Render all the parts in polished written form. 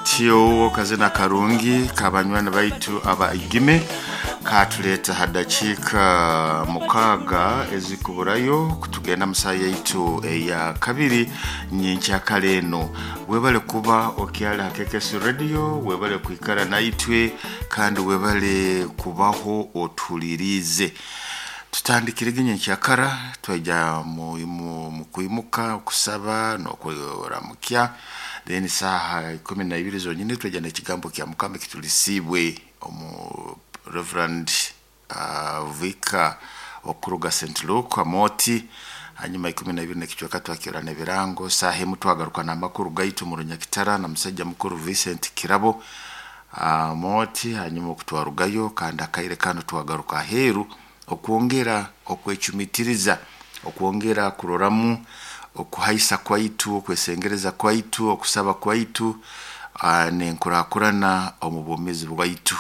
Katyo kazina karungi kabanywani baitu aba igime katuleeta ha dakiika 6 ezikuburayo kutugenda musaha yaitu eya kabiri nyenkyakara eno. Webale kuba okyali ha KKS Radio, webale kwikara naitwe kandi webale kubaho otuliriize. Tutandikirege nyenkyakara twaija mu kwimuka okusaba n'okuramukya, then saaha 12 zonyini twaija n'ekigambo kya Mukama ekitulisiibwe omu Reverend Vicar okuruga St. Luke Amoti. Hanyuma 12 n'ekicweka twakirana n'ebirango, saaha emu twagaruka n'amakuru gaitu mu Runyakitara na musajja mukuru Vincent Kirabo Amoti. Hanyuma okutwarugayo kandi akaire kanu twagaruka aheeru okwongera okwecumitiriza, okwongera kuroramu okuhaisa kwaitu, okwesengereza kwaitu, okusaba kwaitu n'enkurakurana omu bwomeezi bwaitu,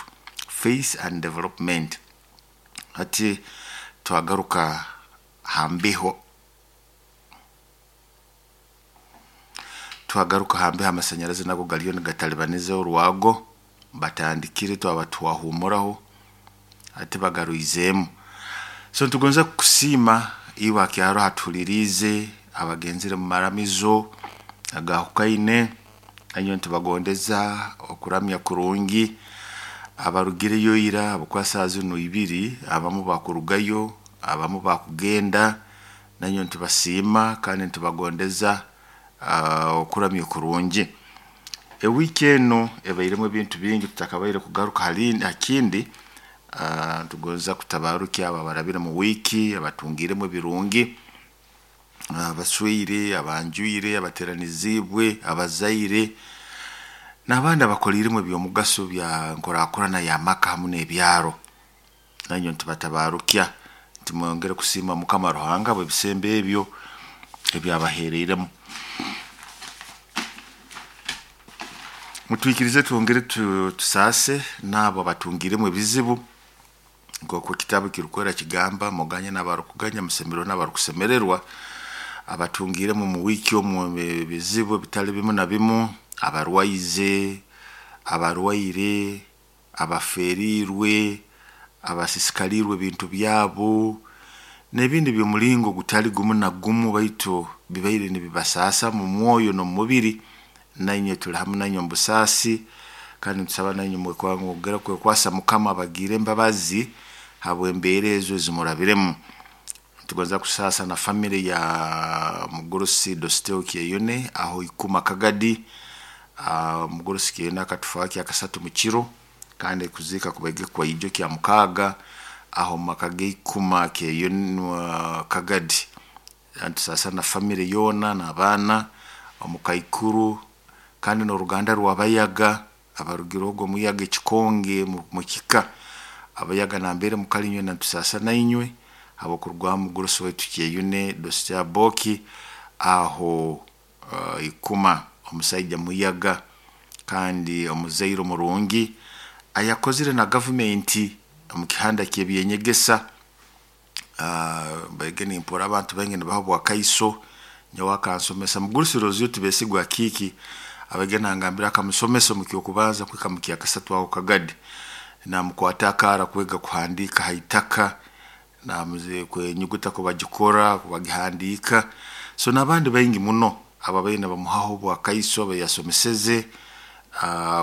faith and development. Hati twagaruka ha mbeho, twagaruka ha mbeho amasanyarazi nago gariyo nigatalibaniza orwago, batandikire twaba twahumuraho hati bagarwizeemu. So nitugonza kukusiima iwe akyaro atuhuliriize, abagenzere mu maramizo agahukaine, nainywe nitubagondeza okuramya kurungi, abarugireyo ira habwokuba saaha zinu ibiri abamu bakurugayo, abamu bakugenda, nainywe nitubasiima kandi nitubagondeza okuramya kurungi. Ewiiki enu ebairemu ebintu bingi tutakabaire kugaruka ha kindi, nitugonza kutabarukya abo abarabire mu wiiki, abatungiremu ebirungi, abasweire, abanjwire, abateraniziibwe, abazaire, n'abandi abakoliiremu eby'omugaso bya nkurakurana y'amaka hamu n'ebyaro. Nainywe nitubatabarukya nti mwongere kusiima Mukama Ruhanga habw'ebisembo ebyo ebyabaheereiremu. Mutwikirize twongere tusaase n'abo abatungiremu ebizibu nk'oku ekitabu ekirukwera kigamba, muganye n'abarukuganya, musemererwe n'abarukusemererwa, abatungiremu mu wiiki omu ebizibu ebitali bimu na bimu, abarwaize, abarwaire, abaferiirwe, abasisikaliirwe ebintu byabo, n'ebindi by'omulingo gutali gumu na gumu baitu bibaire nibibasaasa mu mwoyo n'omu mubiri, nainywe tuli hamu nainywe omu busaasi kandi nitusaba nainywe mwongere kwekwasa Mukama abagiire embabazi habw'embeera ezo ezimurabiremu. Nitugonza kusaasa na famire ya mugurusi Dosteo Kyeyune aho Ikuma Kagadi, omugurusi Kyeyune akatufaho kyakasatu mu kiro kandi kuziika kubaire kwaijo kya 6 aho mu maka g'Ikuma Kyeyune Kagadi. Nitusaasa na famire yoona n'abaana, omukaikuru kandi n'oruganda rw'Abayaga abarugire ogu omuyaga ekikonge mu kika. Abayaga nambere mukali inywena nitusaasa nainywe habw'okurugwaho mugurusi waitu Kyeyune Dosteo Aboki aho Ikuma, omusaija muyaga kandi omuzaire omurungi ayakozire na gavumenti omu kihanda ky'ebyenyegesa. Mbaire nimpurra abantu baingi nibaha obwakaiso, nyowe akansomesa. Mugurusi Roziyo Tibesigwa Akiiki abaire nangambira akamusomesa omu ky'okubanza kuhika mu kyakasatu aho Kagadi, namukwata akaara kwega kuhandiika ha itaka, enyuguta kubagikora, kubagihandiika, so n'abandi baingi muno ababaire nibamuhaho obwakaiso abayasomeseze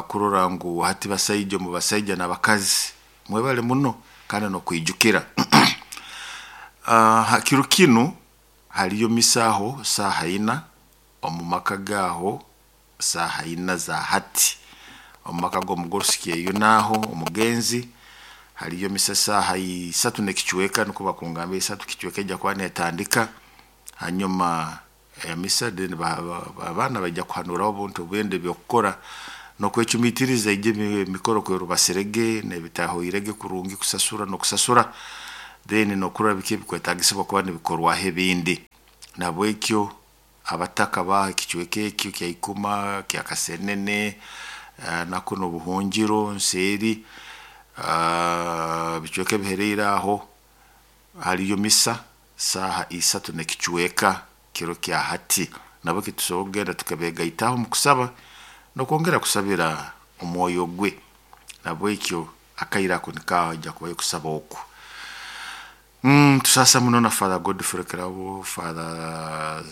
kurora ngu hati basaija omu basaija n'abakazi mwebale muno kandi n'okwijukira. Ha kiro kinu haliyo misa aho saaha ina omu maka gaaho saaha ina za hati, omu maka g'omugurusi Kyeyune aho omugenzi haliyo misa saaha isatu n'ekicweka nukwo bakungambira isatu kicweka ija kuba neetandika, hanyuma emisa then abaana baija kuhanuraho obuntu obundi eby'okukora n'okwecumitiriza ija emikoro kwerubasirege n'ebitahoirege kurungi kusasura n'okusasura, then n'okurora biki ebikwetaagisibwa kuba nibikorwaho ebindi. Nahabwekyo abataka baaho ekicweka ekyo kya Ikuma, kya Kasenene, na kunu Obuhungiro, nseeri, ebicweka ebiheriire aho haliyo misa saaha isatu n'ekicweka kiro kya hati. Nabweki tusobora kugenda tukabeegaitaho omu kusaba. Nokwongera kusabira omwoyo gwe. Nabwekyo akaira ako nikaja kubayo kusaba oku. Tusasa muno na Father Godfrey Kirabo, Father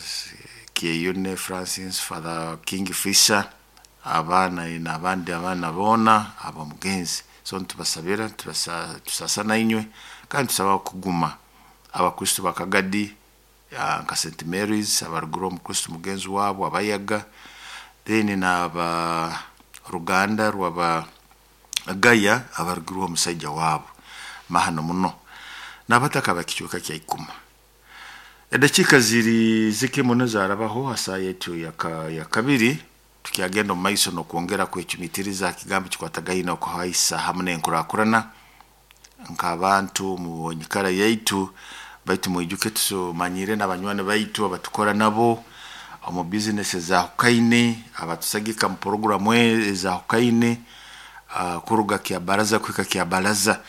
Kieyune Francis, Father King Fisher, abaana n'abandi abaana boona ab'omugenzi. So nitubasabira, tusasa nainywe kandi tusaba kuguma abakristo bakagadi nka St Mary's abarugire omukristo mugenzi wabo abayaga, then n'aba ruganda rwaba Gaya abarugirwe omusaija wabo mahano muno n'abataka bakicweka kya ikuma. Edakiika ziri zike muno zarabaho hasaa yetu ya kabiri tukyagenda omu maiso n'okwongera kwecumitiriza ha kigambo kikwatagaine okuhaisa hamu n'enkurakurana nk'abantu mu nyikara yaitu. Baitu mwijuke tusomanyire n'abanywani baitu abatukora nabo omu bizinesi ezahukaine, abatusagika mu poroguramu ezahukaine, kuruga kya baraza kuhika kya baraza.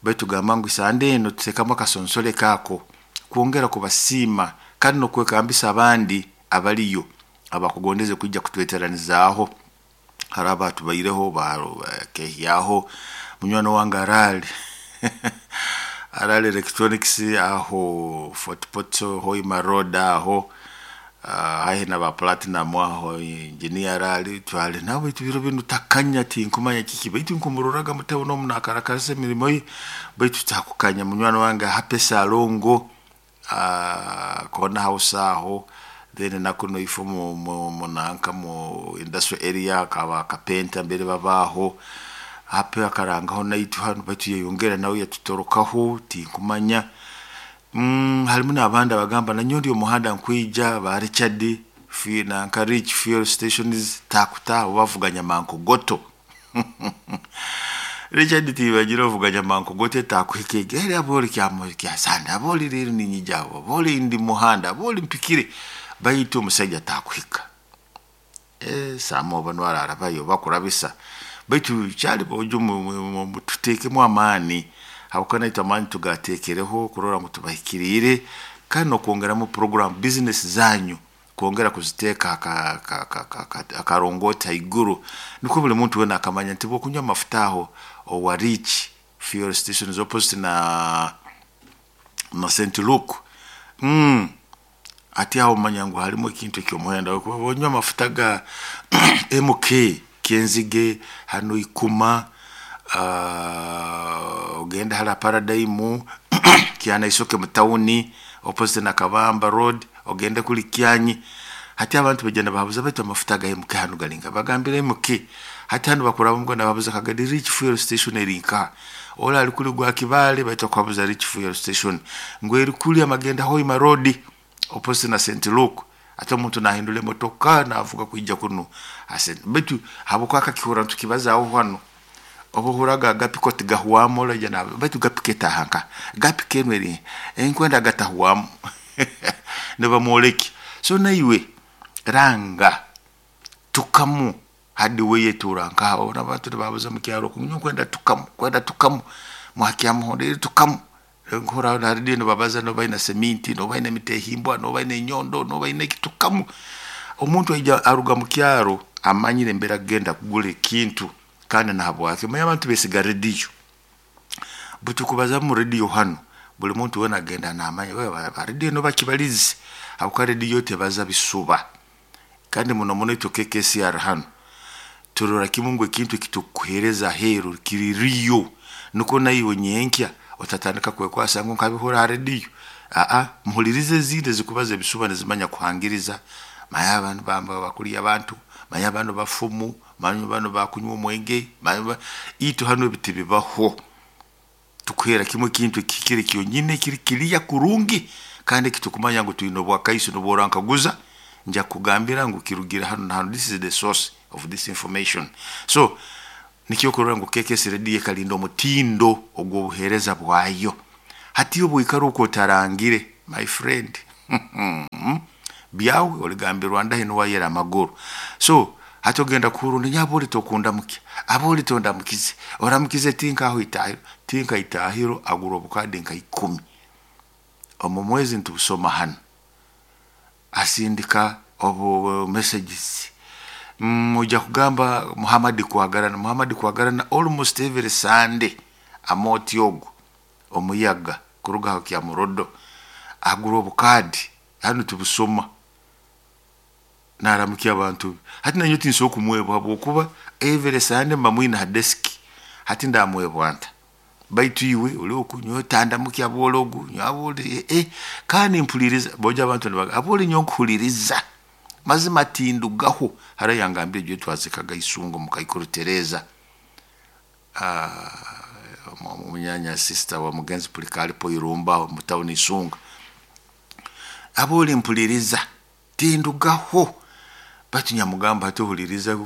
Baitu gamba ngu sande eno tuteekamu akasonsole kaako kwongera kubasiima kandi n'okwekambisa abandi abaliyo abakugondeze kwija kutweteranizaaho. Hariho abatubaireho bakehyaho munywani wange Arali Arali Electronics aho Fort Portal Hoima Road aho, haihi na ba Platinum aho engineer Arali twali nawe biro binu takanya tinkumanya kiki baitu nkumuroraga mutabo n'omu nakarakarasa emirimo ye baitu takukanya. Munywani wange Happy Salongo, Corner House aho, then nakuno ifo mu nanka mu industrial area akaba kapenta mbere babaho Happy akarangaho naitu hano baitu yeyongera nawe yatutorokaho tinkumanya. Harimu n'abandi abagamba nanyo ndi omuhanda nkwija ba Richard nanka Rich Fuel Stations takuta bavuganya mankogoto. Richard tibagira ovuganya mankogoto takuhika egere aboli kya sanda aboli rero ninyija aboli ndi muhanda aboli mpikire baitu omusajja takuhika. Samo bano ararabayo bakurabisa baitu kyali bojo tutekemu amaani habwokuba naitwe amaani tugateekereho kurora ngu tubahikiriire kandi n'okwongeramu program business zanyu kwongera kuziteeka akarongoti haiguru nikwo buli muntu wena akamanya nti bwokunywa amafuta aho owa Rich Fuel Stations opposite na St Luke, ati aho omanya ngu harimu ekintu eky'omuhendo onywa amafuta ga MK Kyenzige hano Ikuma, ogenda hara Paradigm Kyanaisoke mu tawuni opposite na Kabamba Road ogende kuli Kyanyi. Hati abantu baija nibahabuza baitu amafuta ga MK hanu galinga bagambire MK hati hanu bakuraba mugo nababuza kagadi Rich Fuel Station eri nkaha ola ali kuli gwa Kibale baitu akuhabuza Rich Fuel Station ngu eri kuli amagenda Hoima Road opposite na St Luke. Ate omuntu nahindura emotoka navuga kwija kuno baitu habwokuba akakihura ntukibazaho hano obuhuraga agapiko tigahwamu oraija na baitu gapika etahanka gapika enu eri enkwenda gatahwamu nibamwoleki. So naiwe ranga tukamu hadi weye turanka ona abantu nibabuza mu kyaro kunywa kwenda tukamu kwenda tukamu mwakyamuhondere tukamu nkora na radio nibabaza no baina seminti no baina mitehimbwa no baina enyondo no baina ekitukamu. Omuntu aija aruga mu kyaro amanyire embera kugenda kugura ekintu kandi nahabwake manya abantu besiga radio butukubaza mu radio hano buli muntu wena agenda namanya wewe ba radio no bakibalizi habwokuba radio tebaza bisuba kandi muno muno itwe KKCR hano turora kimu ngu ekintu ekitukuhereza aheeru kiri riyo nuko naiwe nyenkya otatandika kwekwasa ngu nkabihura ha radio. Muhulirize ezindi ezikubaza ebisuba nizimanya kuhangiriza manya abantu bamba bakuliya abantu manya bano bafumu manya bano bakunywa omwenge manya itwe hano ebiti bibaho tukuhera kimwe ekintu kikire kyonyine kiri kiriya kurungi kandi kitukumanya ngu twine obwakaiso nobworankaguza nja kugambira ngu kirugira hano na hano, this is the source of this information. So nikyo kurora ngu KKS Radio ekalinda omutindo ogw'obuheereza bwayo. Hati obwikara okwo otarangire my friend byawe oligambirwa ndahi niwayera amaguru. So hati ogenda kuhurunda nyabo oli tokundamuki abo oli tondamukize oramukize tinka aho itahiro tinka itahiro agura obukadi nka 10 omu mwezi ntubusoma hano asindika obu messages Ojja kugamba Muhammad Kwagarana. Muhammad Kwagarana almost every Sunday amooti ogu omuyaga kuruga aho Kyamurodo agura obukaadi hanu tubusoma naramukya abantu be. Hati nanyowe tinsobola kumwebwa habwokuba every Sunday mba mwine ha desk, hati ndamwebwa nta? Baitu iwe oli oku nyowe tandamukya abooli ogu, nyowe abooli kandi mpuliriza, bojo abantu nibagamba abooli nyowe nkuhuliriza, mazima tindugaho. Hara yangambire ijo twazikaga Isungu mukaikuru Tereza, munyanya sister wa mugenzi Pulikalipo Irumba mu town Isunga. Abooli mpuliriza tindugaho, baitu nyamugamba hati ohuliriza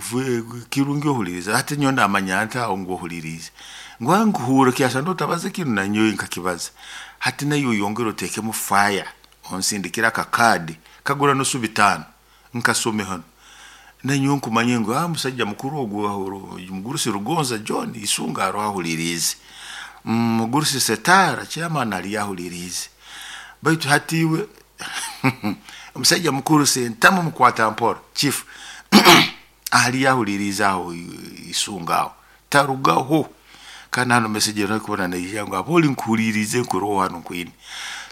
kirungi ohuliriza, hati nyowe ndamanya nta ngu ohuliriize? Ngu nkuhuura kyasana otabaza kinu nanyowe nkakibaza. Hati naiwe oyongere oteekemu fire, onsindikire akakaadi kagura nusu 5 nkasome hanu, nanyowe nkumanye ngu musaija mukuru ogu mugurusi Rugonza John Isunga aroho ahuliriize, mugurusi Setara chairman ali ahuliriize. Baitu hati iwe omusaija mukuru Sentamu mukwata mpora chief ali ahuliriize aho Isunga aho tarugaho. Kandi hanu message erikubona naija ngu abooli nkuhuliriize nkuroho hanu nkwine.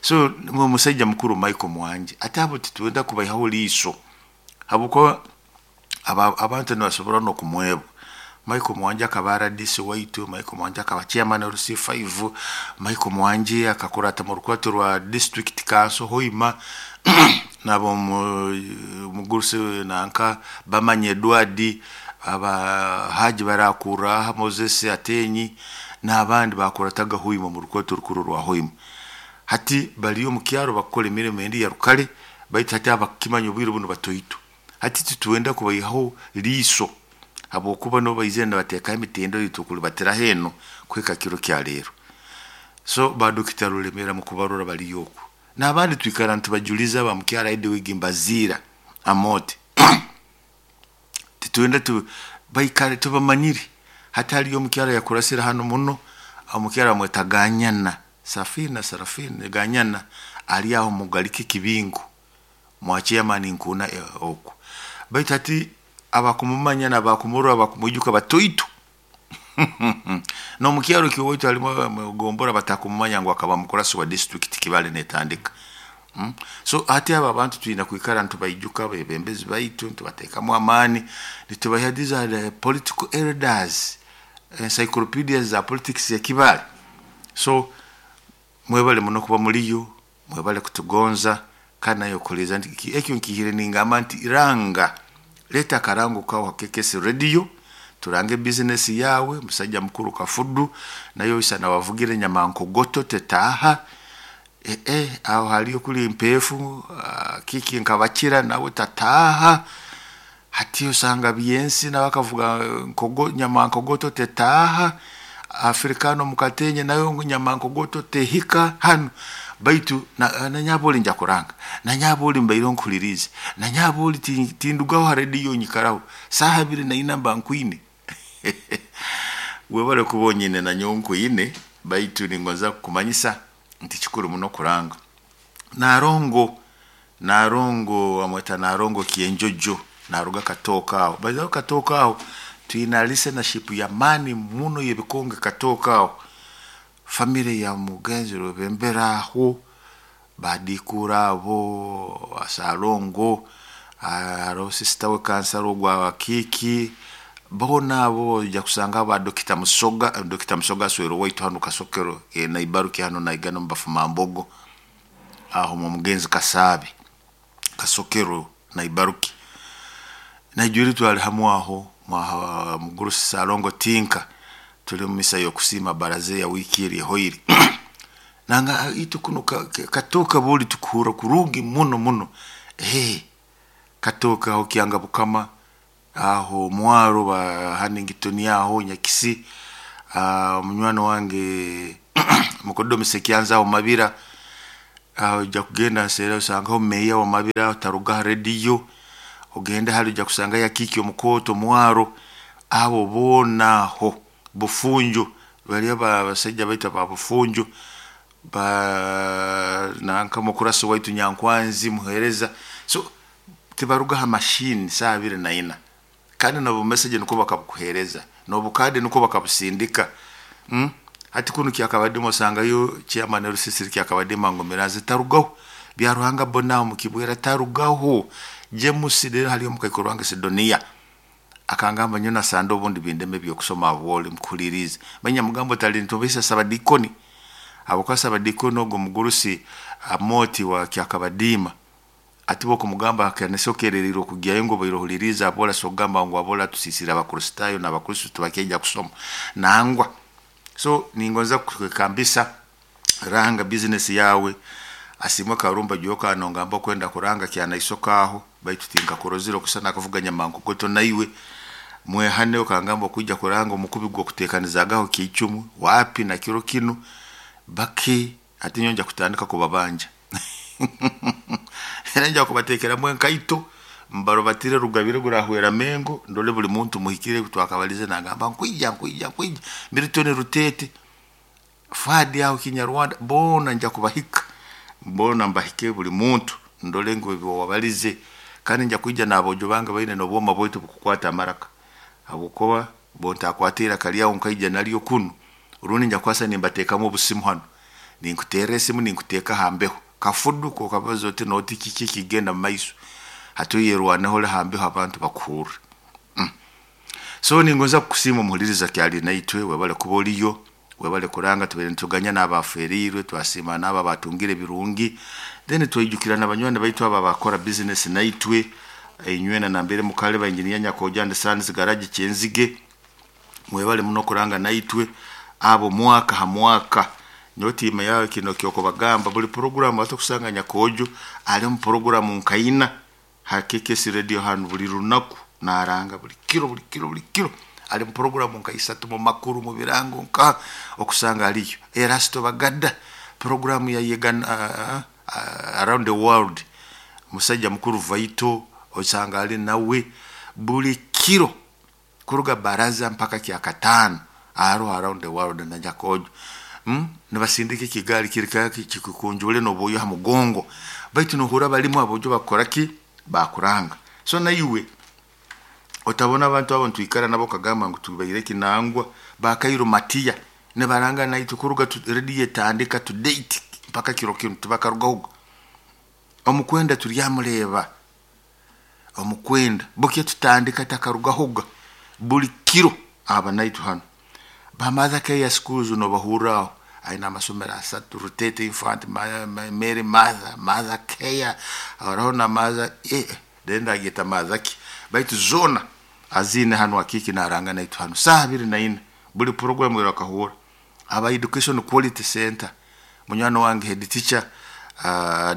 So omusaija mukuru Michael Mwanje ate abo titwenda kubaihaho liiso habwokuba abantu nibasobora n'okumwebwa. Michael Mwanje akaba RDC waitu, Michael Mwanje akaba chairman wa LC5, Michael Mwanje akakurata mu rukwato rwa district council Hoima nabo mugurusi nanka Bamanya Edward, aba Haji Barakura, Moses Atenyi n'abandi bakurataga Hoima mu rukwato rukuru rwa Hoima. Hati bali omu kyaro bakukora emirimo endi ya rukale, baitu hati abakukimanya obwire bunu batoito. Hati titwenda kubaihaho liiso habwokuba nibo baizire nibateekaho emitindo ei tukulibatiraho eno kuhika kiro kya leero. So ba Dokita Rulemera mukubarora baliyo oku. N'abandi twikara nitubajuliza ba mukyara Edwig Mbaziira Amooti. Titwenda baikare tubamanyire. Hati haliyo omukyara yakurasire hanu muno, omukyara bamweta Ganyana, Safina Sarafina Ganyana ali aho Mugalike Kibingo mwa chairman Nkuna oku. Baitu hati abakumumanya n'abakumurora abakumwijuka batoito. N'omukyaro kyowaitu halimu mugombora batakumumanya ngu akaba mukurasi wa district Kibale netandika. So hati abo abantu twina kwikara nitubaijuka bebembezi baitu, nitubateekamu amaani, nitubaha these are the political elders, encyclopedias za politics ya Kibale. So mwebale muno kuba muliyo, mwebale kutugonza, kandi nayo okuhuliriza nti ekyo nkihire ningamba nti ranga, leeta akarango kawe ha KKS radio, turange business yawe, musajja mukuru Kafudu, nayo isana wavugire nyamankogoto tetaaha, aho haliyo kuli empeefu, kiki nkabakira nawe tataaha, hati osanga byensi nawe akavuga nyamankogoto tetaaha, Afrikano mukatenye nawe ngu nyamankogoto tehika hanu, baitu nanyaboli nja kuranga, nanyaboli mbaire nkuhuliriize, nanyaboli tindugaho ha rediyo nyikaraho, saaha 24 mba nkwine. Webale kuba onyine nanyowe nkwine, baitu ningonza kukumanyisa nti kikuru muno kuranga. Narongo, Narongo bamweta Narongo Kyenjojo, naruga Katooka aho. By the way Katooka aho twina listenership y'amaani muno y'ebikonge Katooka aho. Family ya mugenzi Rwebembera aho, badikura abo, Salongo, haroho sister we kansara ogwa Kiiki, boona abo ojja kusanga ba Dokita Musoga, Dokita Musoga aswera owaitu hanu Kasokero Naibaruki hanu naigana omu Bafumambogo, aho omu mugenzi Kasaabe, Kasokero Naibaruki. Naijwire twali hamu aho mugurusi Salongo Tinka, tuli omu misa y'okusiima baraza ya wiiki eri ehoire. Nanga itwe kunu Katooka buli tukuhurra kurungi muno muno. Katooka aho Kyanga Bukama, aho Mwaro ba Hanington aho Nyakisi, munywani wange Mukodomi Sekyanza aho Mabira, aho ojja kugenda nseera osangaho meeya wa Mabira taruga ha rediyo, ogende hali ojja kusangayo Akiiki omukooto Mwaro, abo boona aho Bufunjo, bali abasaija baitu aba Bufunjo, ba nanka mukurasi waitu Nyankwanzi muheereza. So tibaruga ha machine saaha 24. Kandi nobu message nukwo bakabukuhereza, nobukadi nukwo bakabusindika. Hati kunu kyakabadima osangayo chairman rusisiri kyakabadima ngomeraze tarugaho. Byaruhanga bona mukibwera tarugaho. James rero hali omukaikuru wange Sidonia akangamba nyona sando obundi bindeme byokusoma abwoli mkulirize manya mugambo talintobesa sabadikoni aboka sabadikoni ogwo mugurusi amoti wa kyakabadima atibo kumugamba akanesokereriro kugyayo ngo bairohuliriza abola sogamba ngo abola tusisira abakristayo n'abakristo tubakejja kusoma nangwa. So ningonza kukambisa ranga business yawe asimwe karumba joka nongamba kwenda kuranga kyanaisokaho baitu tinkakurozire okusana akavuganya mankugoto naiwe mwehane okangamba kujja kuranga omukubi gwo kutekanizagaho kichumu wapi na kiro kinu baki ati nyonja kutandika kubabanja nja kubatekeramu enkaito mbarobatire rugabire gurahwera mengo ndole buli muntu muhikire twakabalize nagamba nkwija nkwija nkwija Milton Rutete Fadi aho Kinyarwanda bona nja kubahika bona mbahike buli muntu ndole ngo ebyo wabalize kandi nja kwijja n'abojo bange baine n'obwoma bwaitu bukukwata amaraka habwokuba bontakwatira kalyaho nkaija nalyo kunu rundi nja kwasa nimbatekamu obusimu hano ninkuterra esimu ninkuteka hambeho kafudu kokabaza oti noti kiki kigenda mumaiso hatuyerwaneho hambeho abantu bakuhurra. So ningonza kukusiima omuhuliriza kyali naitwe webale kuba oliyo webale kuranga tubaire nituganya n'abaferirwe twasiima n'abo abatungire birungi then twaijukira n'abanywani baitu abo abakora business naitwe inywena nambere mukale ba engineer Nyakoja and Sons garage Kyenzige mwebale muno kuranga naitwe abo mwaka ha mwaka nyotima yawe kino kyoko bagamba buli programu atokusanga Nyakojo ali mu programu nkaina hakekesi radio hanu buli lunaku naranga buli kiro buli kiro buli kiro ali mu programu nkaisatu mu makuru mu birango nka okusanga aliyo Erasto Bagada programu ya yegan around the world musajja mukuru Vaito osanga ali nawe buli kiro kuruga baraza mpaka kyakatano aro around the world na Nyakojo nibasindika ekigali kirika kikukunjule nobuyo ha mugongo baitu nohura balimu abojo bakora ki bakuranga. So naiwe otabona abantu abo ntwikara nabo kagamba ngu tubaire kinangwa bakairo matiya nebaranga naitu kuruga radio etandika to date mpaka kiro kinu tubakarugaho omukwenda turyamuleba omukwenda bukye tutandika takarugahoga buli kiro aba naitu hano bamaza ke schools no bahuraho aina amasomero asatu Rutete Infant Mary Mother Mother Care araho na Mother denda geta Mother ki baitu zona azine hano akiki naranga naitu hano saha 24 buli program irakahura aba education quality center munywano wange head teacher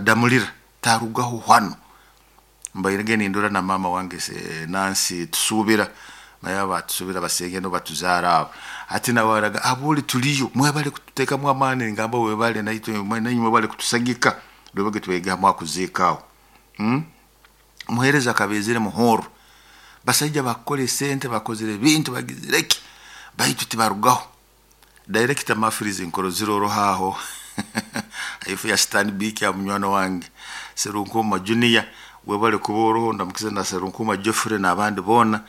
Damulira tarugaho hano mbairege nindura na mama wange Nancy tusubira naye batusubira basenge no batuzara abo ati nawaraga abuli tuliyo mwebale kututekamu amani ngamba webale naitwe nanyi mwebale kutusagika lwebage twega mwakuzikawo muhereza kabezere muhoro basajja bakole sente bakozere bintu bagizireki baitu tibarugaho director mafrizi nkoro ziroro haho ifu ya Stanbic ya munywano wange Serunkuma Junior webale kuboro ndamukiza na Serunkuma Geoffrey n'abandi bona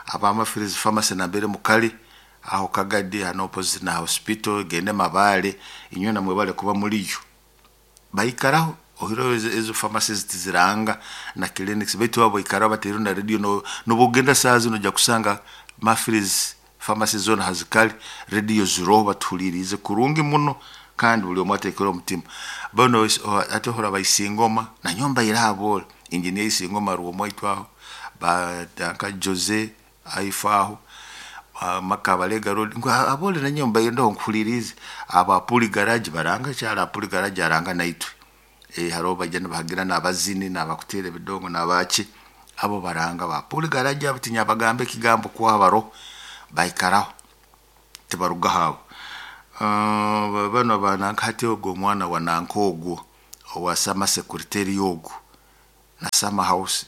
abamafrizi pharmacy nambere mukali aho kagadi hano opposite na hospital gende mabale inywe na mwebale kuba muliyo baikaraho ohiro ezo pharmacies tiziranga na clinics baitu abo ikaraho batero na radio no nobugenda sazi no kusanga mafrizi pharmacy zone hazikali radio ziro batulirize kurungi muno kandi buli omwatekera omutima bano ate hora bayisingoma na nyomba irabo engineer isingoma ruwo aho ba danka Jose aifaho makabalega road ngo abole na nyomba yendo nkulirize aba puli garage baranga cyara puli garage aranga naitwe haro bajana bahagira nabazini nabakutere bidongo nabaki abo baranga ba puli garage abatinya bagambe kigambo kwabaro baikaraho tibaruga habo bano banankati ogwo mwana wa nankogo owasama secretary yogo na sama house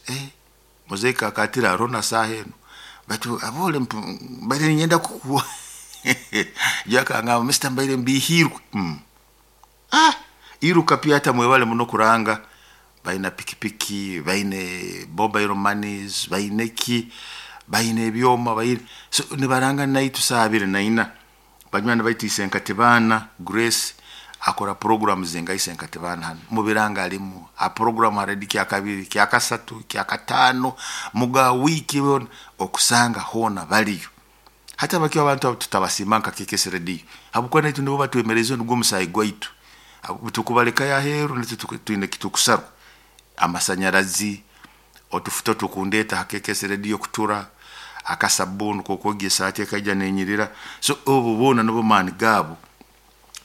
muzeka akatira rona saheno batu abole mbaire nyenda kukuwa jaka Mr. Mbaire mbihirwe iruka pia hata mwebale muno kuranga baina pikipiki baine mobile monies baine ki Baine ebyoma baine so nibaranga naitu saaha 24. Banywani baitu Isenkatibana Grace akora program zenga Isenkatibana hanu mubiranga alimu a program haredi kya kabiri kya kasatu kya katano muga wiki yona okusanga hona baliyo. Hati abakiwa abantu abo tutabasiima nka KKS Radio habwokuba naitu nibo batwemereze nugwo omusaayi gwaitu. Tukubaleka yaheeru nitwe twine kitukusarwa amasanyarazi otufuta tukundeeta ha KKS Radio kutura akasabuni kokwogya esaati ekaija nenyirira. So obu boona nibo maani gaabo.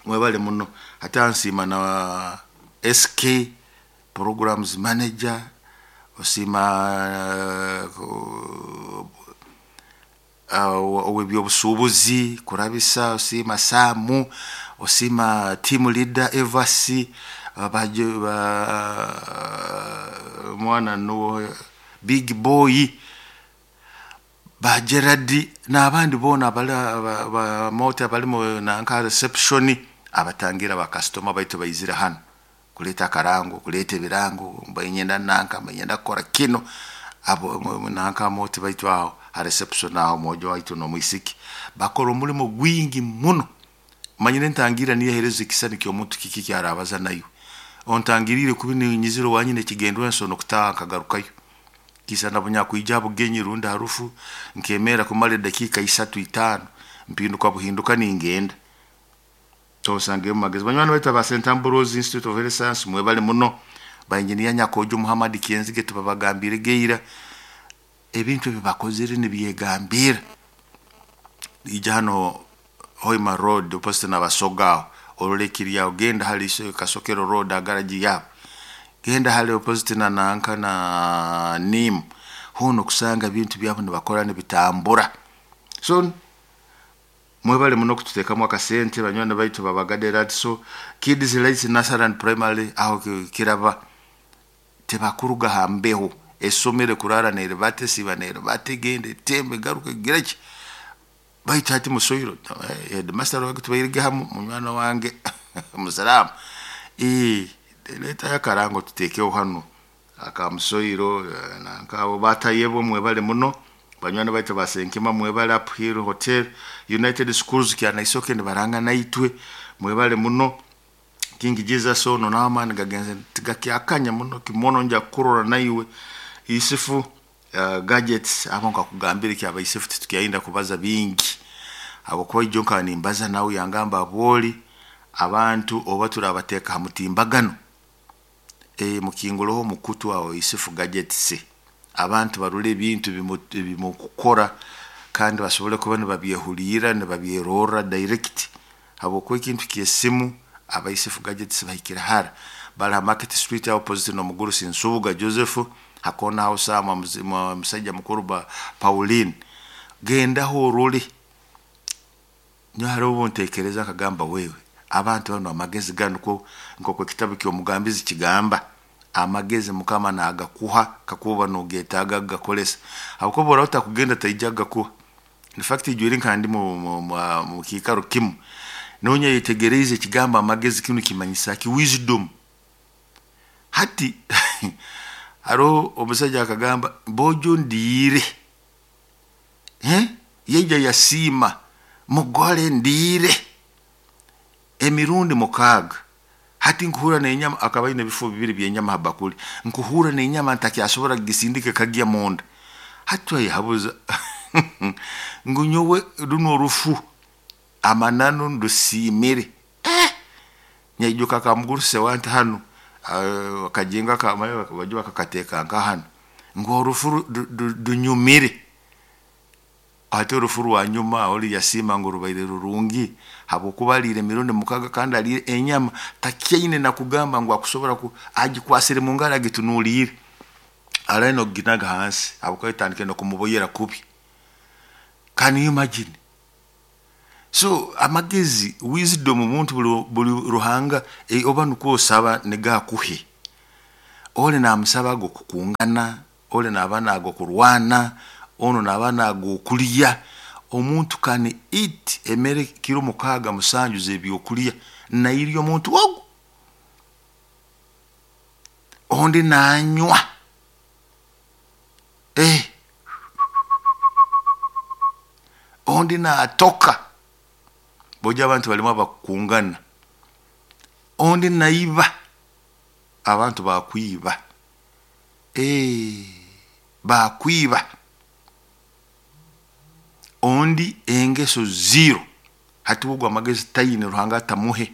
Mwebale muno. Hati ansiima na SK programs manager osiima ow'ebyobusuubuzi kurabisa osiima Samu osiima team leader Evasi mwana nuwo Big Boy ba Gerard n'abandi boona abali mota abalimu nanka reception abatangira ba customer baitu baizire hano kuleta akarango kuleta ebirango mbanyenda nanka mbanyenda kukora kino abo nanka moti baitu aho ha reception aho mojo waitu n'omwisiki bakora omulimo gwingi muno. Manyire ntangira niyo hereza ekisani ky'omuntu kiki kyarabaza nayo ontangirire kubi ninyizire wanyine ekigendwa ensono kutaha nkagarukayo kisa nabunyakwija bugenyi rundi harufu nkemera kumara edakika 3 5 mpinduka buhinduka ningenda tosange mu magezi. Banywani baitu aba St Ambrose Institute of Health Science mwebale muno. Ba engineer Nyakojo Muhammad Kiyenzige tubabagambire geira ebintu ebibakozere nibyegambira. Ija hano Hoima Road opposite na Basoga orolekiri genda hali Kasokero Road agaraji yabo genda hali opposite na nanka na Nim hono kusanga bintu byabo nibakora nibitambura. So mwebale muno kututeekamu akasente banywani baitu babagadera. So Kids Lights Nursery and Primary aho kiraba tebakuruga hambeho esomere kurara neribate siba neribate gende tembe garuka gireki baitu hati musoyiro headmaster wange tubairige hamu munywana wange musalamu leta yakarango tutekeho hano akamusoyiro nankabo batayebo mwebale muno. Banywani baitu basenkima mwebale Uphill Hotel United Schools kyanaisoke nibaranga naitwe mwebale muno. King Jesus ono n'amaani gagenze tigakyakanya muno kimono nja kurora naiwe Isifu gadgets abo nkakugambira kyaba Isifu titukyayinda kubaza bingi habwokuba ijo nkaba nimbaza nawe yangamba abwoli abantu oba turabateeka ha mutimbagano mukinguloho mukutu awo Isifu gadgets abantu barule ebintu bimukukora kandi basobole kuba nibabyehulira nibabyerora direct habwokuba ekintu ky'esimu aba Isifu gadgets bahikira hara bali ha Market Street opposite n'omugurusi Nsubuga Joseph hakona aho sama musajja mukuru ba Pauline gendaho orole nyo hariho obuntekereza akagamba wewe abantu bano amagezi gano ko nkoko ekitabu ky'omugambizi kigamba amagezi mukama nagakuha kakuba nogetaaga gakolesa habwokuba oraba otakugenda taija gakuha. In fact ijwire nkandi mu kiikaro kimu nonya yetegereze ekigamba amagezi kinu kimanyisa ki wisdom. Hati hariho omusajja akagamba bojo ndiire yeija yasiima mugole ndiire emirundi 6 hati nkuhura n'enyama akaba aine ebifo bibiri by'enyama ha bakuli nkuhura n'enyama ntakyasobora kugisindika kagya munda. Hati twayehabuza ngu nyowe runo orufu amananu ndusiimire nyaijuka kamuguruse wanti hano akajenga kamayo bajua akakateeka nka hano ngu orufu dunyumire. Ate orufu rwa nyuma oli yasiima ngu rubaire rurungi habwokuba aliire emirundi 6 kandi aliire enyama takyaine nakugamba ngu akusobora agikwasire mu ngaro agitunuliire araine okuginaga hansi habwokuba etandike n'okumuboyera kubi. Can you imagine? So amagezi wisdom omuntu buli ruhanga oba nukwo osaba negakuhe ole namusaba ago kukungana ole naba nago kurwana ono naba nago kulya. Omuntu can eat emere kiro 6 7 z'ebyokulya nairya omuntu ogu ondi nanywa Ondi naatoka, boja abantu balimu abakukungana. Ondi naiba, abantu bakwiba, bakwiba. Ondi engeso zero, hati ogwo amagezi taine, Ruhanga atamuhe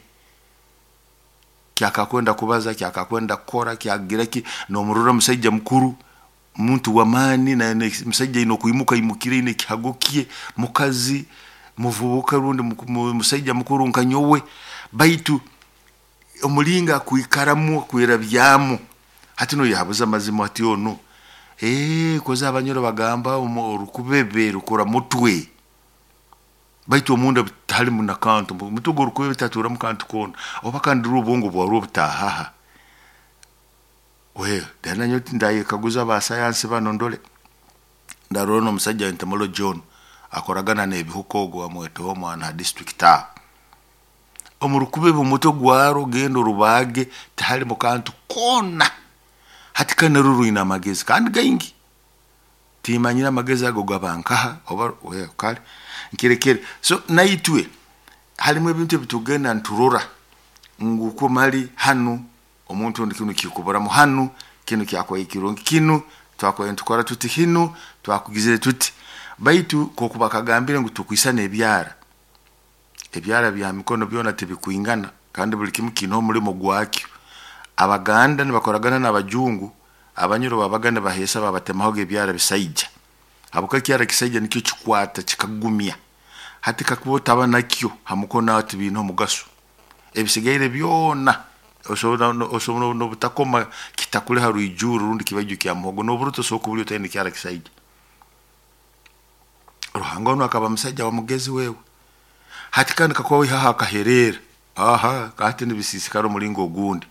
kyakakwenda kubaza, kyakakwenda kukora, kyagira ki. Nomurora musaija mukuru, muntu w'amaani, musaija aine okwimuka aimukire aine ekihago kye, mukazi muvubuka rundi musaija mukuru nka nyowe, baitu omulingo akwikaramu akwerabyamu, hati noyehabuza amazima ati onu koza abanyoro bagamba orukubebe rukura mutwe, baitu omunda tihalimu na kantu, omutwe gw'orukubebe taturamu kantu koona, oba kandi obwongo bwarwo butahaha. Then nanyowe ndayekaguza aba sayansi banu ndole, ndarora n'omusaija entomology onu akoragana n'ebihuka ogu bamweta omwana ha district aho. Omu rukubebe omutwe gwarwo genda orubaage tihalimu kantu koona. Hati kandi narwo rwine amagezi kandi gaingi. Timanyire amagezi ago gaba nkaha oba kale nkirekere. So naitwe halimu ebintu ebitugenda niturora ngu kumali hanu omuntu ondi kinu kikuburamu hanu, kinu kyakubaire kirungi kinu, twakubaire nitukora tuti hinu, twakugizire tuti. Baitu nk'oku bakagambire ngu tukwisana ebyara, ebyara bya mikono byona tibikwingana kandi buli kimu kiine omulimo gwakyo. Abaganda nibakoragana n'abajungu, abanyoro babaga nibaheesa babatemahoga ebyara bisaija, habwokuba ekyara kisaija nikyo kikwata kikagumya. Hati kakuba otaba nakyo ha mukono aho tibiine omugaso, ebisigaire byona osobola n'obutakoma kitakuli ha rwijurro rundi kibaiju kya muhogo, n'oburuto osobola kubulya otaine kyara kisaija. Ruhanga onu akaba musaija wa mugezi wewe. Hati kandi kakuba waihaho akahereera, aha hati nibisiisikara omulingo ogundi.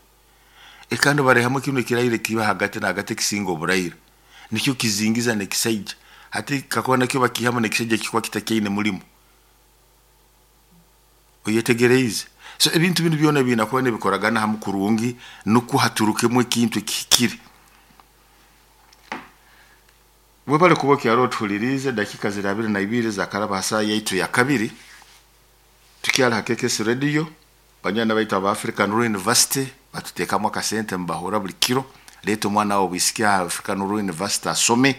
Kandi baraihamu kinu ekiraire kiba hagati na hagati ekisinga oburaire, nikyo kizingiza n'ekisaija. Hati kakuba nakyo bakiihamu n'ekisaija kikuba kitakyaine mulimo. Oyetegereize? So ebintu binu byona biine kuba nibikoragana hamu kurungi nukwo haturukemu ekintu ekihikire. Webale kuba okyaro otuhuliriize, dakika ziri 22 zakaraba ha saaha yaitu ya kabiri. Tukyali ha KKS Radio, banywani baitu aba African Rural University batuteekamu akasente mubahura buli kiro. Leeta omwana wawe obwisiki aha African Rural University asome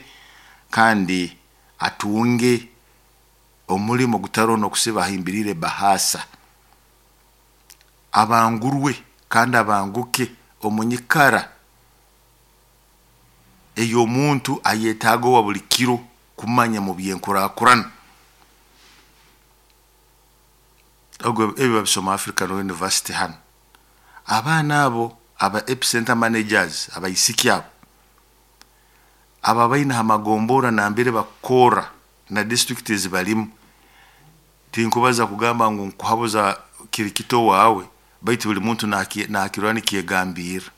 kandi atunge omulimo gutaroho n'okusiba ahimbiriire bahaasa. Abangurwe kandi abanguke omu nyikara ey'omuntu ayetaaga owa buli kiro kumanya mu by'enkurakurana. Ogwo ebi babisoma African University hanu. Abaana abo aba epicenter managers abaisiki abo aba baine ha magombora nambere bakukorra na district ezibalimu, tinkubaza kugamba ngu nkuhabuza kiri kito waawe, baitu buli muntu nakirora nikyegambirra.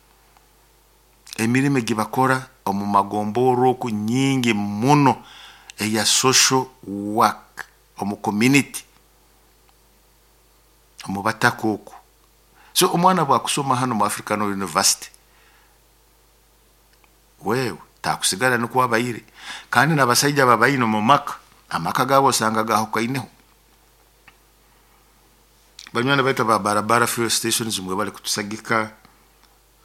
Emirimo egi bakora omu magombora oku nyingi muno eya social work omu community, omu bataka oku. So omwana bwakusoma hanu mu African University, wewe takusigara nukwo abaire. Kandi n'abasaija babaine omu maka, amaka gaabo osanga gahukaineho. Banywani baitu aba barabara fuel stations mwebale kutusagika,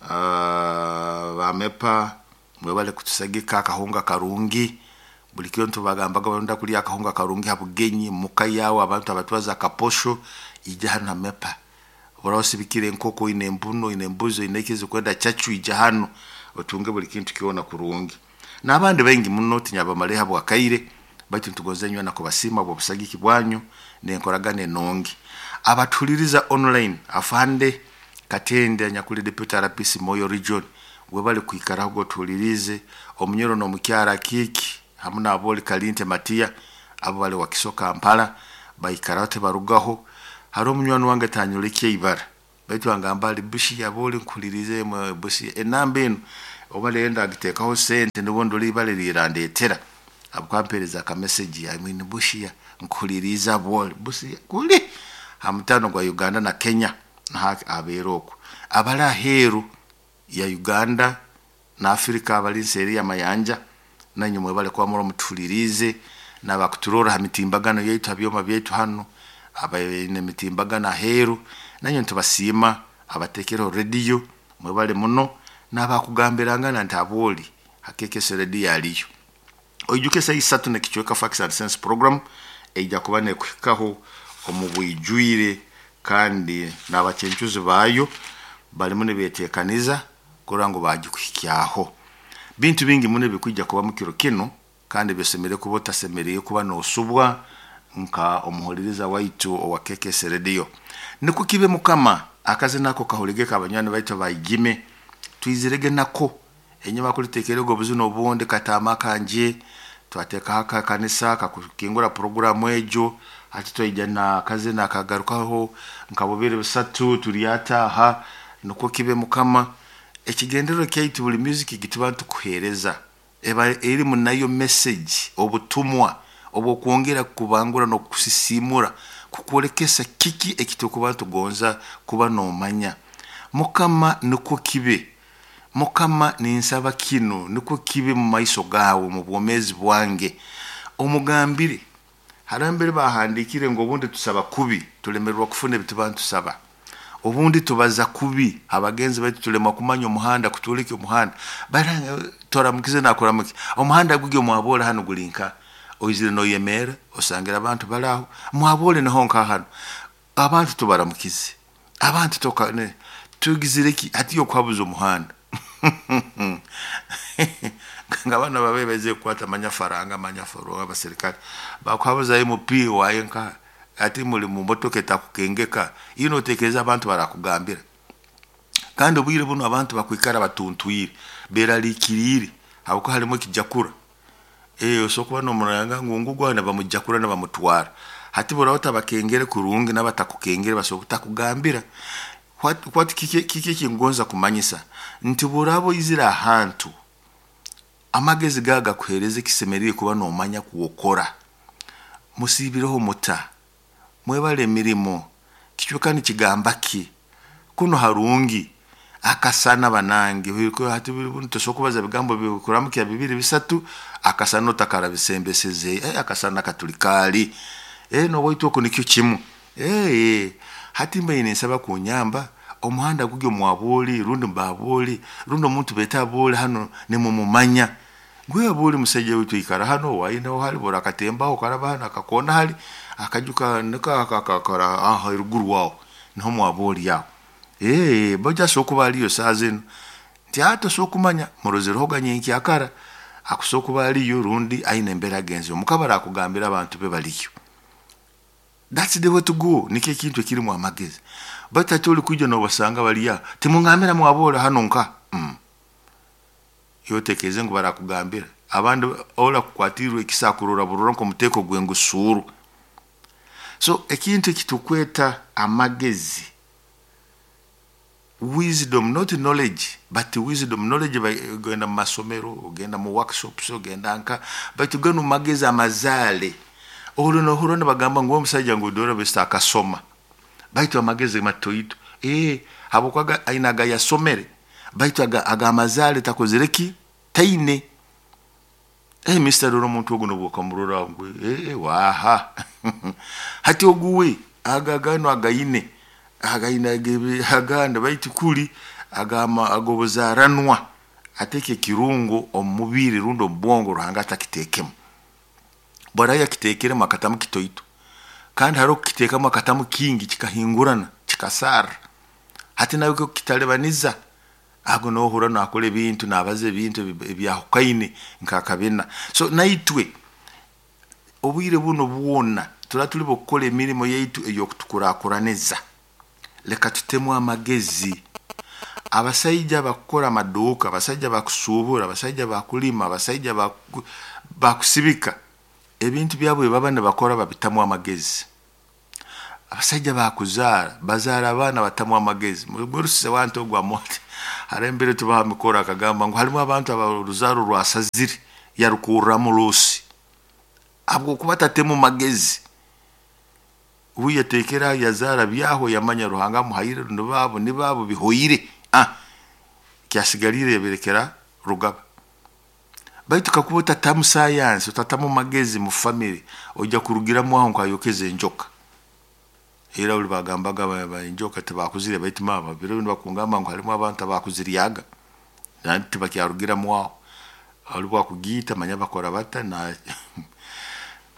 ba MEPA mwebale kutusagika akahunga karungi. Buli kiro nitubagambaga baronda kulya akahunga karungi ha bugenyi muka yawe, abantu abatwaza akaposho ija hanu ha MEPA. Oraho osibikire enkoko, oine empunu, oine embuzi, oine eki kwenda chachu, ija hanu otunge buli kintu kyona kurungi. N'abandi baingi muno tinyabamaleho habwakaire, baitu nitugonza nyowe nakubasiima habw'obusagiki bwanyu n'enkoragana enungi. Abatuhuliriza online, afande Katende anyakuli deputy RPC Moyo region, webale kwikaraho otuhulirize, omunyoro n'omukyara Kiiki hamu n'aboli Kalinte Matiya abo bali Wakiso Kampala baikaraho tibarugaho. Hariho omunywani wange tanyolekye ibara, baitu angamba ali Busia aboli nkuhulirize Busia enamba enu oba rero ndagiteekaho sente nibwo ndora ibara erirandetera. Habwokuba aka message I mean Busia nkuhulirize aboli Busia kuli ha mutano gwa Uganda na Kenya naho abeera okwo. Abali aheeru ya Uganda na Africa abali nseeri y'amayanja nanywe mwebale kuba muroho mutuhuliriize. N'abakuturora ha mitimbagano yaitu, ha byoma byaitu hanu, abaine emitimbagano aheeru, nanywe nitubasiima. Abateekereho rediyo mwebale muno, n'abakugambirangana nti abooli ha KKS rediyo aliyo. Oijuke esaaha isatu n'ekicweka Facts and Sense program eija kuba nekuhikaho omu bwijwire, kandi n'abacencuzi baayo balimu nibeteekaniza kurora ngu baagikuhikyaho. Bintu bingi muno ebikwija kuba mu kiro kinu, kandi byosemeriire kuba otasemeriire kuba noosubwa nka omuhuliriza waitu owa KKS rediyo. Nikwo kibe Mukama, akazina ako kahuligeke abanywani baitu abaigime, twizirege nako enyuma kuliteekerege obuzina obundi kataama kanje, twateekaho akakanisa kakukingura puroguramu egyo. Hati twaija n'akazina akagarukaho nka bubiri busatu turyataaha. Nikwo kibe Mukama, ekigendererwa kyaitu buli music gituba nitukuheereza eba erimu nayo message, obutumwa obw'okwongera kukubangura n'okukusisiimura, kukwolekesa kiki ekiturukuba nitugonza kuba noomanya. Mukama nikwo kibe, Mukama ninsaba kinu nikwo kibe mu maiso gaawe mu bwomeezi bwange. Omugambire, haroho mbere bahandiikire ngu obundi tusaba kubi, tulemererwa kufuna ebituba nitusaba. Obundi tubaza kubi abagenzi baitu, tulemwa kumanya omuhanda, kutwoleka omuhanda. Toramukize nakuramukya, omuhanda gugi omwaboole hanu guli nka, oizire noyemerra, osangire abantu bali aho, mwaboole niho nka hanu. Abantu tubaramukize, abantu toka tugizire ki hati yokuhabuza omuhanda. Nga bana babe baizire kukwata manyafaranga, manyafaro abaserikale bakuhabuza MP waye nka ati muli mu motoka etakukengeka, iyo notekereza abantu barakugambira. Kandi obwire bunu abantu bakwikara batuntwire, beraliikiriire habwokuba halimu ekijakura. Osobola kuba nomuranga ngu ngugwo nibamujakura nibamutwara. Hati bworaba otabakengere kurungi n'abatakukengere basobora kutakugambira. What kiki ekingonza kumanyisa nti bworaba oizire ahantu, amagezi gawe gakuheereza ekisemeriire kuba noomanya kwokora. Musiibireho muta, mwebale emirimo, kicweka nikigamba ki, kunu harungi, akasana banange, hati tosobora kubaza bigambo bikuramukya bibiri bisatu, akasana otakarabisembeseze, akasana katuli kaali, n'owaitu oku nikyo kimu. Hati mbaire ninsaba kunyamba, omuhanda gugi omwabooli rundi mbabooli rundi omuntu beeta abooli hanu nimumumanya. Gwe abooli musaija waitu aikara hanu owaaye hali bwora akatembaho okaraba hanu akakoona hali akaju niko akakara eruguru aho niho mwabooli aho. Baitu asobora kuba aliyo saaha zinu, nti tosobora kumanya murozirehoga nyenkyakara, akusobora kuba aliyo rundi aine embere agenzere, omukama arakugambira abantu be baliyo. That's the way to go, nikyo ekintu ekirimu amagezi. Baitu hati oli kwija nobasanga bali aho, timungambira mwaboole hanu nka. Iwe otekereze ngu barakugambira. Abandi ora kukwatirwa ekisa akurora burora nk'omuteeko gw'engusuuru. So ekintu ekitukweta amagezi, wisdom, not knowledge, but wisdom. Knowledge ogenda mu masomero, ogenda mu workshops, ogenda nka, baitu ganu magezi amazaale. Ori nohurra nibagamba ngu omusajja ngu dora besita akasoma, baitu amagezi matoito. Habwokuba aine agayasomere, baitu ag'amazaale takozere ki? Taine. Mister rora omuntu ogu nobwokamurora ngu waha. Hati ogu we aga ganu againe, againe agandi baitu kuli ag'obuzaaranwa, ateeka ekirungo omu mubiri rundi omu bwongo Ruhanga atakiteekemu. Bwaraaba yakiteekeremu akatamu kitoito, kandi haroho kukiteekamu akatamu kingi kikahingurana, kikasarra. Hati nawe kukitalibaniza, ago nohurra naakora ebintu, naabaza ebintu ebyahukaine nk'akabina. So naitwe obwire bunu bwona turaba tuli b'okukora emirimo yaitu ey'okutukurakuraniza, leka tutemu amagezi. Abasaija abakukora amaduuka, abasaija abakusuubura, abasaija abakulima, abasaija bakusibika, ebintu byabo ebi baba nibakora babitamu amagezi. Abasaija bakuzaara, bazaara abaana batamu amagezi. Murusise wantu ogu amote, haro embere tubaha mikoro akagamba ngu harimu abantu abaruzaaro rwasazire yarukurramu ruusi, habwokuba tatemu magezi. Obu yateekera yazaara byaho yamanya Ruhanga amuhaire nibaabo nibaabo bihoire, kyasigaliire yabirekera rugaba. Baitu kakuba otatamu sayansi, otatamu magezi mu family, ojja kurugiramu aho nkayokeza enjoka. Era buli bagambaga enjoka tibakuzirya, baitu mama biro binu bakungamba ngu harimu abantu abakuziryaga nandi tibakyarugiramu aho. Ali bwakugiita manya bakora bata na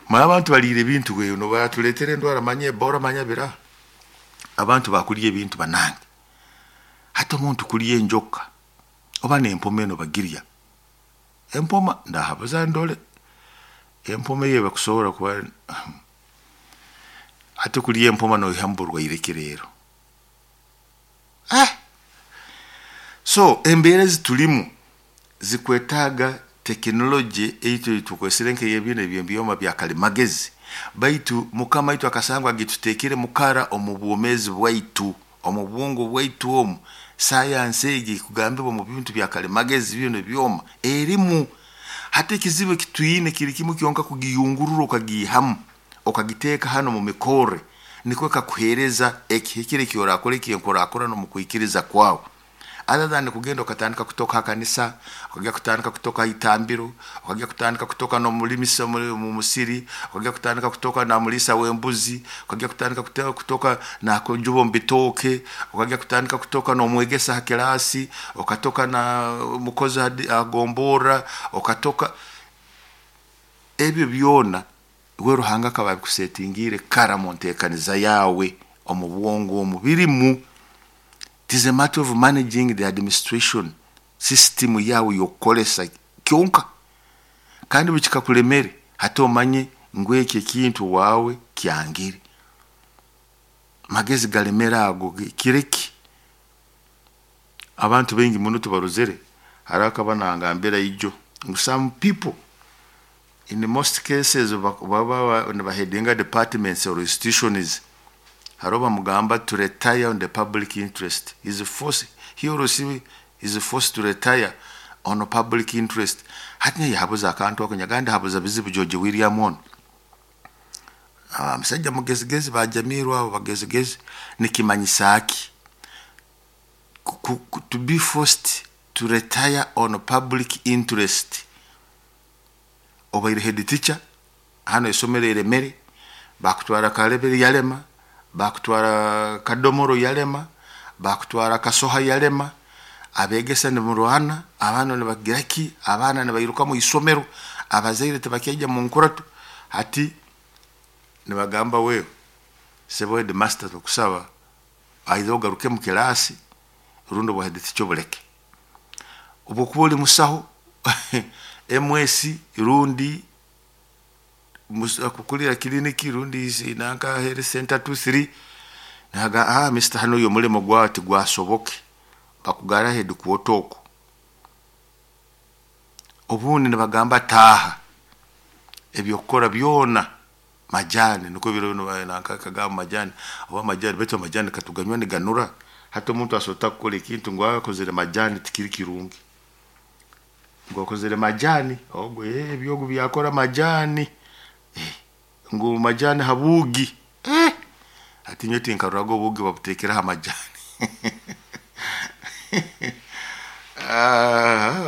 manya abantu baliire ebintu wewe nobaratuleetera endwara manya Ebola manya bira. Abantu bakulya ebintu banange. Hati omuntu kulya enjoka oba n'empoma eno bagirya. Empoma ndahabuza ndole empoma eyo bakusobora kuba hati kulya empoma noihamu burwaire ki leero? So embeera ezitulimu zikwetaaga tekinologi eitu tukozesere nk'eyebinu eby'ebyoma bya kalimagezi, baitu Mukama waitu akasangwa agituteekere mukara omu bwomeezi bwaitu, omu bwongo bwaitu omu. Sayansi egi ekugambibwa omu bintu bya kalimagezi binu ebyoma erimu. Hati ekizibu ekitwine kiri kimu kyonka, kugiyungurura okagiihamu okagiteeka hanu mu mikorre, nikwo kakuheereza ekihikire eki orakora eky'enkurakurana omu kwikiriza kwawe. Other than kugenda okatandika kutoka ha kanisa, okagenda kutandika kutoka ha itambiro, okagenda kutandika kutoka n'omulimisa mu musiri, okagenda kutandika kutoka na muliisa w'embuzi, okagenda kutandika kutoka nakujuba omu bitooke, okagenda kutandika kutoka n'omwegesa ha kilaasi, okatoka na mukozi ha gomborra, okatoka ebyo byona we Ruhanga akaba abikusetingiire kara mu nteekaniza yaawe omu bwongo omu birimu. It is a matter of managing the administration system yawe y'okukolesa kyonka. Kandi bwe kikakulemere hati omanye ngu eki ekintu waawe kyangire. Magezi galemere ago kireke. Abantu baingi muno tubarozere, hariho akaba nangambira ijo ngu some people in most cases baba nibaheadinga departments or institutions, hariho bamugamba to retire on the public interest. Is forced, he or she is forced to retire on public interest. Hati naye yahabuza akantu ako nyagandi habuza bizibu George William ono. Musajja mugezigezi bajamirwa abo bagezigezi nikimanyisa ki? To be forced to retire on public interest. Obaire head teacher hano esomero eremere, bakutwara Kalebere yalema, bakutwara Kadomoro yalema, bakutwara Kasoha yalema, abegesa nimurwana, abaana nibagira ki, abaana nibairuka mu isomero, abazaire tibakyaija mu nkurato. Hati nibagamba wewe sebo headmaster tukusaba either ogaruke mu kilaasi rundi obwa head teacher obuleke. Obwokuba oli musaho MS rundi akukulira kiliniki rundi nanka health center 2 3 naga Mr hano uyo mulimo gwawe tigwasoboke, bakugara headquarter oko. Obundi nibagamba taaha ebyokukora byona majani, niko biro binu nanka kagamba majani oba majani, baitu amajani katuganywa niganura. Hati omuntu asobora kukora ekintu ngu akozere majani tikiri kirungi, ngu akozere majani ogwo ebyogu byakora majani ngu majani habuugi hati nyowe tinkaroraga obuugi babuteekeraho amajani.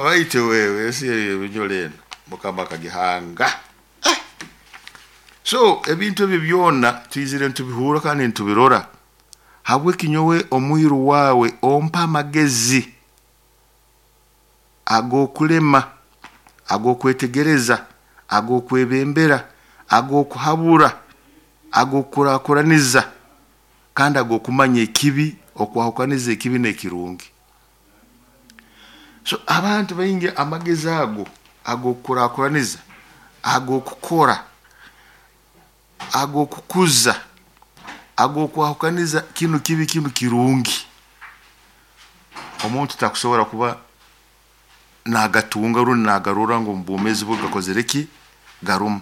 Baitu wewe ensi ebinyoro eno Mukama akagihanga. So ebintu ebyo byona twizire nitubihurra kandi nitubirora. Habweki nyowe omwiru wawe ompa amagezi ag'okulema, ag'okwetegereza, ag'okwebembera, ag'okuhabura, ag'okukurakuraniza, kandi ag'okumanya ekibi, okwahukaniza ekibi n'ekirungi. So abantu baingi amagezi ago ag'okukurakuraniza, ag'okukora, ag'okukuza, ag'okwahukaniza kinu kibi kinu kirungi, omuntu takusobora kuba nagatunga rundi nagarora ngu omu bwomeezi bwe gakozere ki, garumu.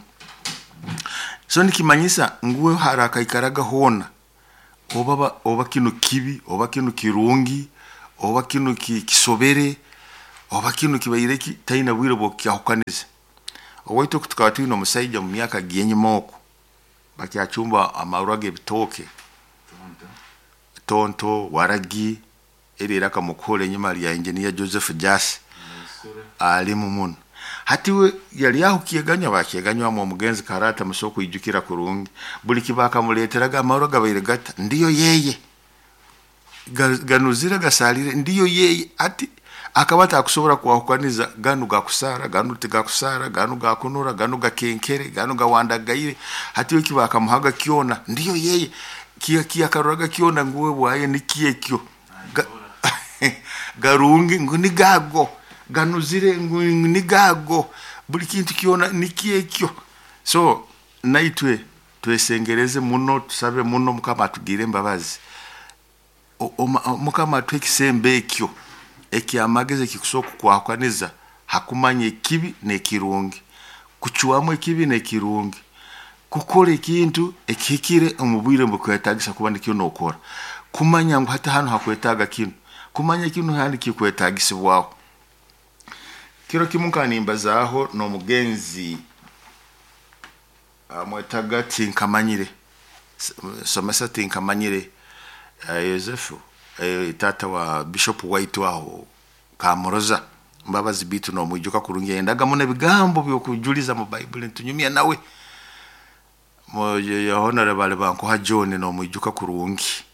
So nikimanyisa ngu we harakaikaraga hoona oba kinu kibi, oba kinu kirungi, oba kinu kisobere, oba kinu kibaire ki, taina bwire bw'okukyahukaniza. Owaitu oku tukaba twine omusaija mu myaka gyenyuma oku, bakyacumba amarwa g'ebitooke, tonto, waragi, eri eraka mukuhurra enyuma lya engineer Joseph Jas alimu muno. Hati we yali aho kyeganywa bakyeganywamu omugenzi karata muso kwijukira kurungi buli kibakamuleeteraga amarwa gabaire gata ndiyo yeye ganuzire gasalire ndiyo yeye. Ati akaba atakusobora kwahukaniza ganu gakusara, ganu tigakusara, ganu gakunura, ganu gakenkere, ganu gawandagaire. Hati we kibakamuhaga kyona ndiyo yeye, kiyakaruraga kyona nguwe bwaye nikyekyo garungi ngu nigago, ganuzire ngu nigago, buli kintu kyona nikyekyo. So naitwe twesengereze muno, tusabe muno Mukama atugire embabazi. Mukama atuhe ekisembo ekyo ekyamagezi ekikusobola kukwahukaniza hakumanya ekibi n'ekirungi, kucwamu ekibi n'ekirungi, kukora ekintu ekihikire omu bwire obukwetagisa kuba nikyo nokora, kumanya ngu hati hanu hakwetaaga kinu, kumanya kinu handi kikwetagisibwaho. Kiro kimu nkanimbazaho n'omugenzi amwetaga tinkamanyire, somesa tinkamanyire, Yosefu, tata wa Bishop White aho Kamuroza Mbabazi bitu nomwijuka kurungi, yendaga muno ebigambo byokujuliza mu Bible ntunyumya nawe honorable bankuha John nomwijuka kurungi.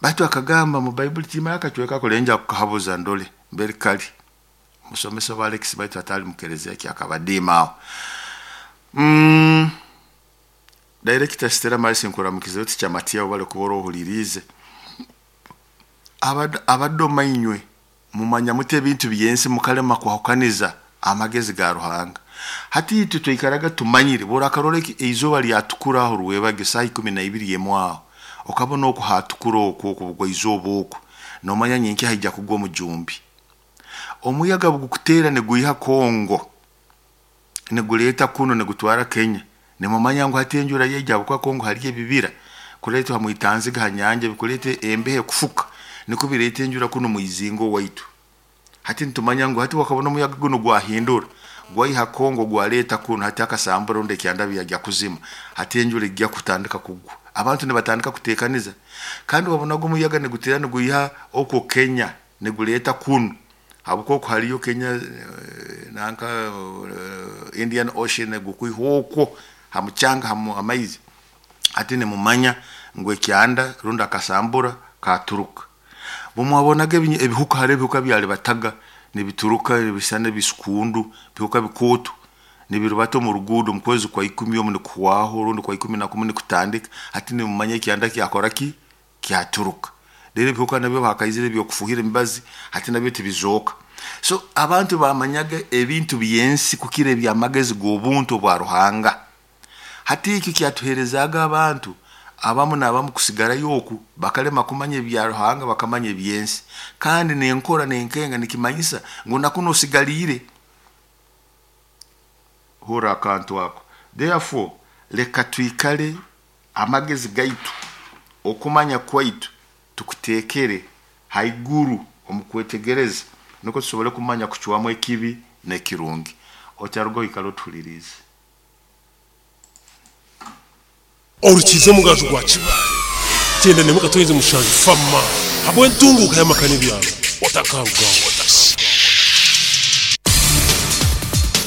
Batu akagamba mu Bible timara akachweka kulenja kukahabuza ndole mbere kali musomesa wa Alex baitu atali mukerezia ki akabadima aho. Director Stella Marisi nkuramukize uti chamatia bale kubora ohulirize. Abadoma inywe mumanya mute ebintu byensi mukalema kwahukaniza amagezi ga Ruhanga. Hati itwe twikaraga tumanyire bora karole eizoba lyatukura aho rwebage saa 12 yemwaho okabona okuhatukura okwo okubugwa izoba okwo nomanya nyenki haija kugwa omujumbi. Omuyaga bugukutera neguiha Kongo neguleta kuno negutwara Kenya, nemumanya ngu hati enjura yeija bukwa Kongo hali ebibira kuleta hamwitanziga hanyanja bikulete embehe kufuka niko bireta enjura kuno muizingo waitu. Hati ntumanya ngu hati wakabona omuyaga guno gwahindura gwaiha Kongo gwaleta kuno hati akasambura onde kyandabi yajya kuzima hati enjura ijya kutandika kugwa abantu nibatandika kutekaniza. Kandi wabonaga omuyaga negutera neguiha okwo Kenya neguleta kuno habwo haliyo Kenya nanka Indian Ocean negukwiha okwo hamuchanga hamu amaizi. Hati nemumanya ngu ekyanda runda akasambura katuruka. Bumwabonaga ebihuka hari ebihuka byali bataga nibituruka ebisana bisukundu bihuka bikutu nibirubata mu rugudo mu kwezi kwa 10 omu nikuwaho rundi kwa 11 nikutandika. Hati nemumanya ekyanda kyakora ki kyaturuka. Rero ebihuka nabyo bakaizire byokufuhira emibazi hati nabyo tibizoka. So abantu bamanyaga ebintu byensi kukira ebyamagezi g'obuntu bwa Ruhanga. Hati ekyo kyatuherezaga abantu abamu n'abamu kusigara yoku bakalema kumanya ebya Ruhanga bakamanya ebyensi. Kandi nenkora nenkenga nikimanyisa ngu nakuno osigalire hora akantu ako. Therefore leka twikale amagezi gaitu okumanya kwaitu tukutekere haiguru omukwetegereza nuko tusobole kumanya kucwamu ekibi n'ekirungi. Otarugo ikalo tulirize orukize mugaju gwa Kibale tenda nemuka mushanju fama habwe ntunguka y'amakani byalo otakarugaho.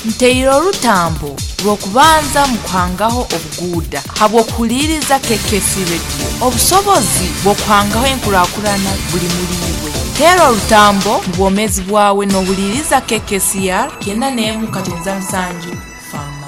Nteire orutambo rw'okubanza mu kuhangaho obuguuda habw'okuhuliriza KKC Radio. Obusobozi bw'okuhangaho enkurakurana buli muliiwe. Teera orutambo mu bwomeezi bwawe n'ohuliriza KKCR 91.7